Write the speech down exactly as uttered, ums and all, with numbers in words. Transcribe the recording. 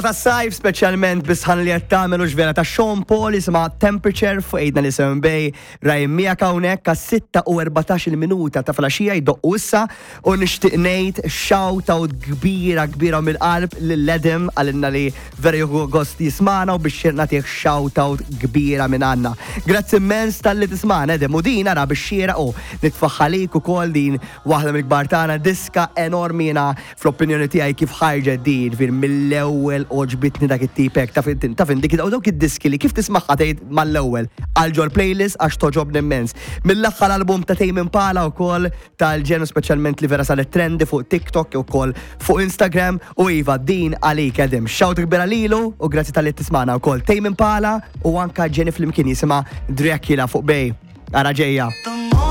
Ta' sajf, speċjalment bis-sħana li qed tagħmel u vera ta' Sean Paul jisimha Temperature fuq għidna li Seven Bay. Ryan miegħek hawnhekk għas-sitta u erbatax-il minuta ta' filgħaxija jdoqqu issa u nixtieq ngħid shout out kbira kbira mill-qalb lil Edim, għalinna li vera jieħu gost jismana u biex nagħtih shout out kbira minn għandna. Grazzi immens talli tismana, Edim, u din ara biex xieraq u nitfaħħalik ukoll din waħda mill-kbar tagħna, diska enormi. Jiena fl-opinjoni tiegħi kif ħarġet din fir mill-ewwel għoġbitni dak it-tipek ta' fin ta' fin dik dawk id-diski li kif tismagħha tgħid mal-ewwel għal ġol playlist għax toġobni immens. Mill-aħħar album ta' Tame Impala wkoll tal-ġenu, speċjalment li vera saret trendy fuq TikTok u wkoll fuq Instagram, u iva, din għalik, Edim. Shout kbira lilu u grazzi talli tismana wkoll. Tame Impala u anka Jenny flimkien jisimha Dracula fuq Bay. Ara ġejja. The